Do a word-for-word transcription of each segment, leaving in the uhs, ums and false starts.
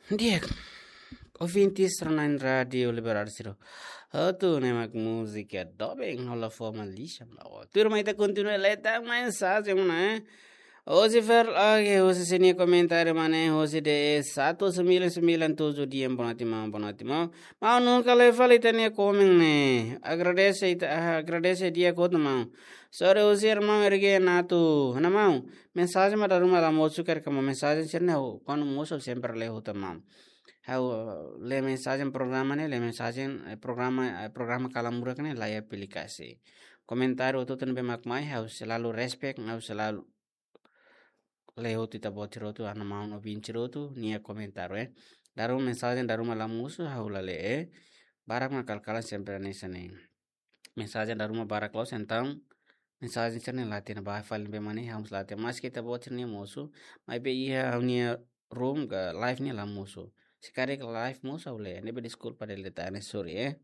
Di'ak, ouvintes rona-na'in Rádio Liberdade sira hotu, ne'e mak múzika doben hola fó malixa. Tuirmai ita kontinua lee tan mensajen ne'e. Hosi Fer, oke, hosi sini komentáriu mak ne'e, hosi D E satu sembilan sembilan tujuh, di'ak, boa noite maun, boa noite maun. Maun nunka lee fali ita-nia komen ne'e. Agradese ita, ah, agradese di'ak hotu maun. Sorry, hosi irmaun Erge Natu. Ha'u-nia maun, mensajen mak dala ruma la mosu karik, maun, mensajen sira-ne'e ha'u, kuandu mosu sempre lee hotu maun. Ha'u lee mensajen programa ne'e, lee mensajen, eh, programa, eh, programa Kalan Murak ne'e laiha aplikasi. Komentáriu hotu-hotu ne'ebé mak mai, ha'u selalu respect, ha'u selalu lee hotu ita-boot sira hotu, ha'u-nia maun ouvinte sira hotu nia komentáriu, eh. Dala ruma mensajen dala ruma la mosu, ha'u la lee, eh. Barak mak kala-kala sempre hanesan ne'e. Mensajen dala ruma barak loos, entaun mensajen sira-ne'e la hatene ba fali ne'ebé mak ne'e, ha'u mós la hatene. Maske ita-boot sira-nia mosu, maibé iha ha'u-nia room ka live ne'e la mosu. Se karik live mosu ha'u lee, ne'ebé deskulpa dele tane, sorry, eh.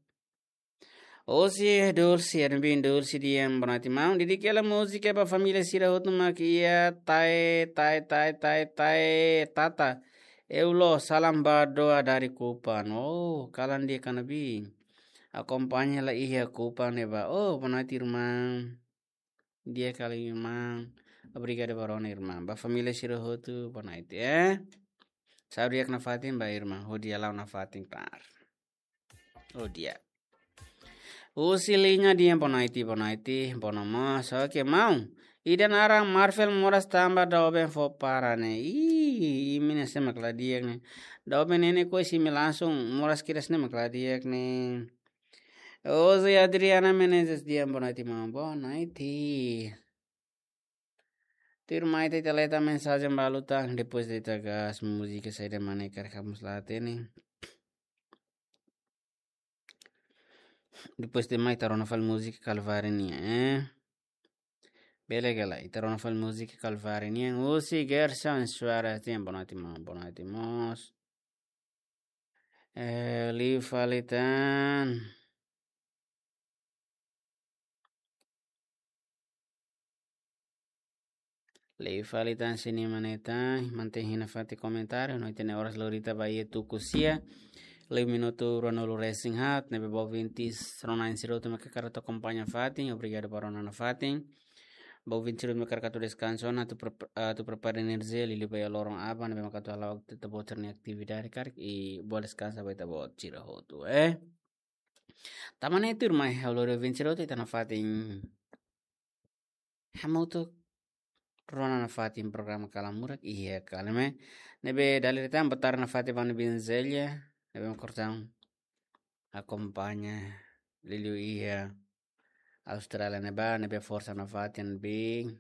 Hosi Dulce, Ervin Dulce, di'ak, boa noite maun. Dedika hela múzika ba família sira hotu mak iha Tae, Tae, Tae, Tae, Tae, Tata. Eulo, salam ba doa dari Kupang. Oh, kalan di'ak ka ne'ebé. Akompaña hela iha Kupang ne'ebá. Oh, boa noite, irmã. Di'ak hela, irmã. Obrigadu ba rona, irmã. Ba família sira hotu, boa noite, eh. Saúde di'ak nafatin ba irmã. Ho di'ak la'o nafatin, klaru. Ho di'ak. Husi Liña, di'ak, boa noite, boa noite, boa noite mós. Oke, maun. Ida naran Marvel moras tanba doben fó para ne'e. Ih, imi-nia sé mak la di'ak ne'e. Doben ne'e ne'e ko'alia imi langsung moras kedas ne'e mak la di'ak ne'e. Hosi Adriana Menezes, di'ak, boa noite maun, boa noite. Tuirmai ita lee tan mensajen balu tan, depois ita gas múzika saida mak ne'e karik ha'u mós la hatene. Depois de mai ita rona fali múzika Kalváriu nian, eh. Bele ka lae, ita rona fali múzika Kalváriu nian. Husi Gerson Soares, di'ak, boa noite maun, boa noite mós. Eh, liu fali tan. Liu fali tan sira-nia maneta, mantein hela nafatin komentáriu, no ita-nia oras lori ita ba iha tuku sia. Liu minutu ruanulu resin haat, ne'ebé ba ouvintes rona-na'in sira hotu mak hakarak atu akompaña nafatin, obrigadu ba rona nafatin. Ba ouvintes sira hotu mak hakarak atu deskansa ona, atu prep-, atu prepara enerjia, liuliu ba iha loron aban, ne'ebé mak atu hala'o ita-boot sira-nia atividade karik, i boa deskansa ba ita-boot sira hotu, eh. Tanba ne'e tuirmai, ha'u lori ouvintes sira hotu ita nafatin hamutuk rona nafatin programa Kalan Murak iha Kalan Murak. Ne'ebé dala ida tan boa tarde nafatin ba Ana Bin Zelia, ne'ebé mak orsida akompaña liuliu iha Austrália ne'ebá, ne'ebé forsa nafatin Bin.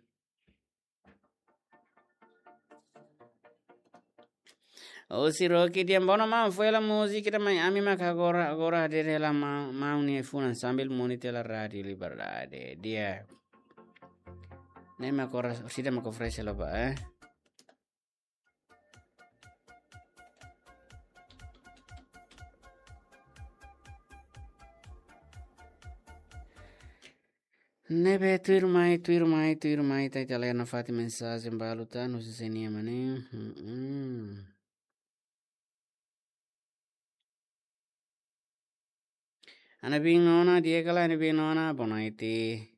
Husi Rocky, di'ak, boa noite maun, fó hela múzika ida mai, ami mak agora, agora hadeer hela ma-, maun nia funan sambil monitor hela Rádio Liberdade. Di'ak. Ne'e mak oras, orsida mak oferese hela ba, eh. Ne'ebé tuirmai, tuirmai, tuirmai, ita, ita lee nafatin mensajen balu tan, husi sé nian mak ne'e. Mm-mm. Ana Bin Nona, di'ak ka lae Ana Bin Nona, boa noite.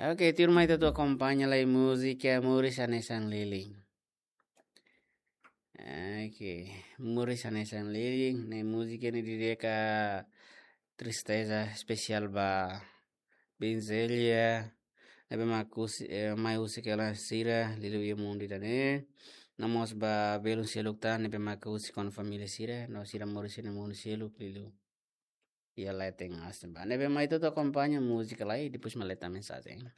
Oke, tuirmai ita atu akompaña lai múzika Moris Hanesan Lilin. Oke, Moris Hanesan Lilin, ne'e múzika ne'e dedika tristeza espesiál ba Bin Zelia, ne'ebé mak husi, eh, mai husik hela sira, liuliu iha mundu ida-ne'e. No mós ba belun seluk tan, ne'ebé mak husik ona família sira, no sira moris iha mundu seluk, liuliu iha leten aas ne'ebá. Ne'ebé mai ita atu akompaña múzika lai, depois mak lee tan mensajen.